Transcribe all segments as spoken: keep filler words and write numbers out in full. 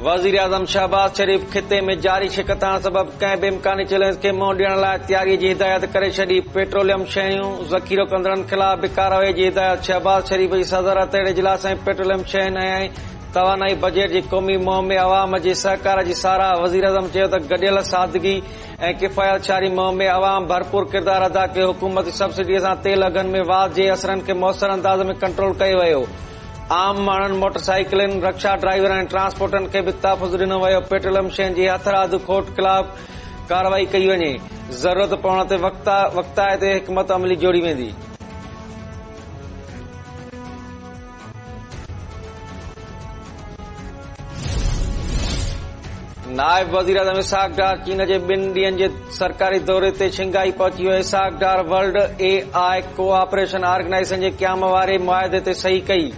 वज़ीर-ए-आज़म शहबाज शरीफ खिते में जारी छिकताण सबब कंहिं बि इम्कानी चैलेंज खे मुंहुं ॾियण लाइ तयारीअ जी हिदायत करे छॾी। पेट्रोलियम शयूं ज़ख़ीरो कंदड़नि ख़िलाफ़ बि कार्रवाई जी हिदायत। शहबाज शरीफ जी सदारत हेठि इजलास में पेट्रोलियम शयुनि ऐं तवानाई बजट जी क़ौमी मुहिम में अवाम जे सहकार जी साराह। वज़ीर-ए-आज़म चयो त गॾियल सादगी ऐं किफ़ायत शारी मुहिम में अवाम भरपूर किरदार अदा कयो। हुकूमती सब्सिडीअ सां तेल अघनि में वाध जे असरनि खे मौसर अंदाज़ में कंट्रोल कयो वियो। आम माण्हुनि, मोटरसाइकिलनि, रिक्शा ड्राइवरनि ऐं ट्रांसपोर्टरनि खे बि तहफ़ुज़ ॾिनो वियो। पेट्रोलियम शयुनि जी हथरादू खोट ख़िलाफ़ कार्रवाई कई वञे। ज़रूरत पवण ते वक़्ताइते हिकमत अमली जोड़ी वेंदी। नायब वज़ीर आज़म इसहाक डार चीन जे ॿिनि ॾींहनि जे सरकारी दौरे ते शंघाई पहुची वियो। Ishaq Dar World A I Cooperation Organization जे क़याम वारे मुआहिदे ते सही कई।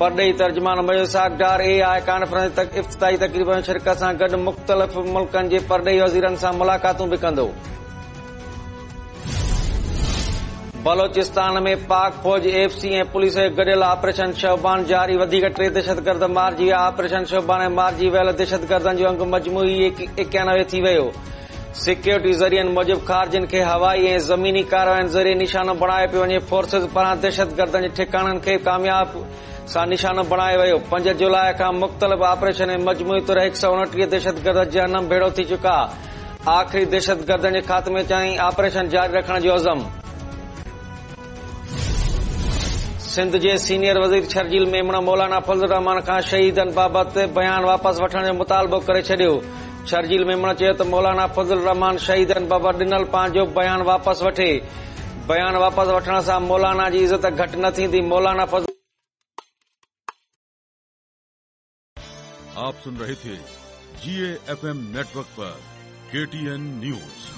परॾेही तर्जुमान मूजिबि Ishaq Dar A I conference तक इफ्तिताही तक़रीब में शिरकत सां गॾु मुख़्तलिफ़ मुल्कनि जे परॾेही वज़ीरनि सां मुलाक़ातूं बि कंदो। बलोचिस्तान में पाक फौज, एफ सी ऐं पुलिस जो गॾियल ऑपरेशन शोबान जारी। वधीक टे दहशतगर्द मारिजी विया। ऑपरेशन शोबान में मारिजी वियल दहशतगर्दनि जो अंग मजमूई एकानवे थी वियो। सिक्योरिटी ज़रियनि मूजिबि ख़ारजियुनि खे हवाई ऐं ज़मीनी कार्रवाइयुनि ज़रिए निशानो बणायो पियो वञे। फोर्सेस पारां दहशतगर्दनि जे ठिकाणनि खे कामयाब सां निशानो बणायो वियो। पंज जुलाई खां मुख़्तलिफ़ ऑपरेशन में मजमूई तौर हिकु सौ उणटीह दहशतगर्द जहन्नम भेड़ो थी चुका। आख़िरी दहशतगर्दनि जे ख़ात्मे ताईं ऑपरेशन जारी रखण जो अज़म। सिंध जे सीनियर वज़ीर शर्जील मेमण मौलाना फज़ल रहमान खां शहीदनि बाबति बयान वापसि वठण जो मुतालबो करे छॾियो। शर्जील मेमण चयो त मौलाना फज़ल रहमान शहीदनि बाबति ॾिनल पंहिंजो बयान वापसि वठे। बयान वापसि वठण सां मौलाना जी इज़त घटि न थींदी। मौलाना फज़ल आप सुन रहे थे जी ए एफ एम नेटवर्क पर के टी एन न्यूज।